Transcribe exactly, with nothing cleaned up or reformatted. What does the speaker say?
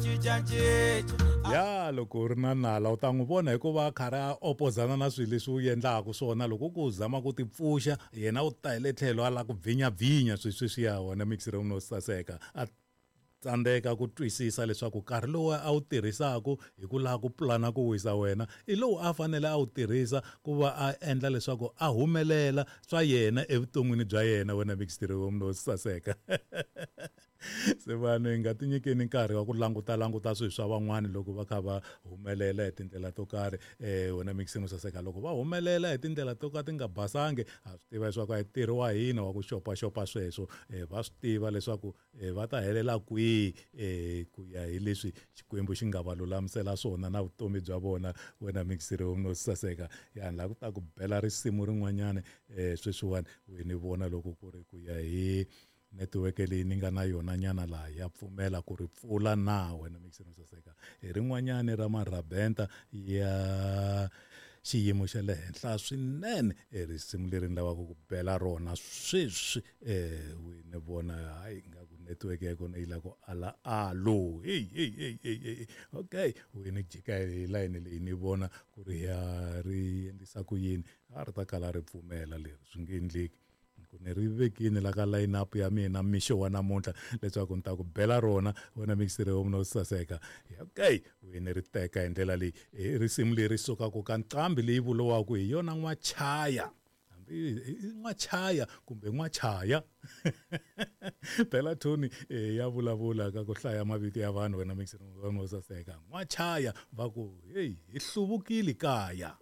Cincacinca. Ya loko u ri na nala u ta n'wi vona hikuva a karhi a opozana na swilo leswi u endlaka swona. Loko ku u zama ku tipfuxa, yena u ta hi le tlhelo a lava ku bvinyabvinya swilo sweswiya. Wena mixer no saseka a tsandzeka ku twisisa leswaku nkarhi lowu a wu tirhisaka hi ku lava ku pulana ku wisa wena i lowu a fanele a wu tirhisa ku va a endla leswaku a humelela swa yena evuton'wini bya yena. Wena mixer no saseka. Se vanhu hi nga tinyikeni nkarhi wa ku languta languta swilo swa van'wani loko va kha va humelela hi tindlela to karhi. um wena mixer no saseka, loko va humelela hi tindlela to ka ti nga basangi, ha swi tiva leswaku a hi ntirho wa hina wa ku xopaxopa sweswo. um va swi tiva leswaku um va ta helela kwihi um ku ya hi leswi Xikwembu xi nga va lulamisela swona na vutomi bya vona. Wena mixer no saseka, ya ni lava ku ta ku bela risimu rin'wanyana um sweswiwani we ni vona loko ku ri ku ya hi netiweke leyi ni nga na yona nyana laha ya pfumela ku ri pfula na. Wena mixer no saseka, hi rin'wanyani ra marabenta ya xiyimo xa le henhla swinene, e risimu leri ni lavaka ku bela rona sweswi. um we ni vona hayi nga ku netiweke ya kona yi lava ku ala alo. Hey hey hey hey hey okay, we ni jika hi layini leyi ni vona ku ri ya ri endlisa ku yini, a ri ta kala ri pfumela leri, swi nge endleki. Ku ni ri vekini la ka line up ya mina mixo wa namuntlha leswaku ni ta ku bela rona. Wena mixer no saseka, okay, we ni ri teka hi ndlela leyi. I risimu leri sukaka ka nqambi leyi vuriwaka hi yona N'wachaya, hambi i N'wachaya kumbe N'wachaya. Phela Tony ya vulavula ka ku hlaya mavito ya vanhu. Wena mixer no saseka, N'wachaya va ku hey, hi hluvukile kaya.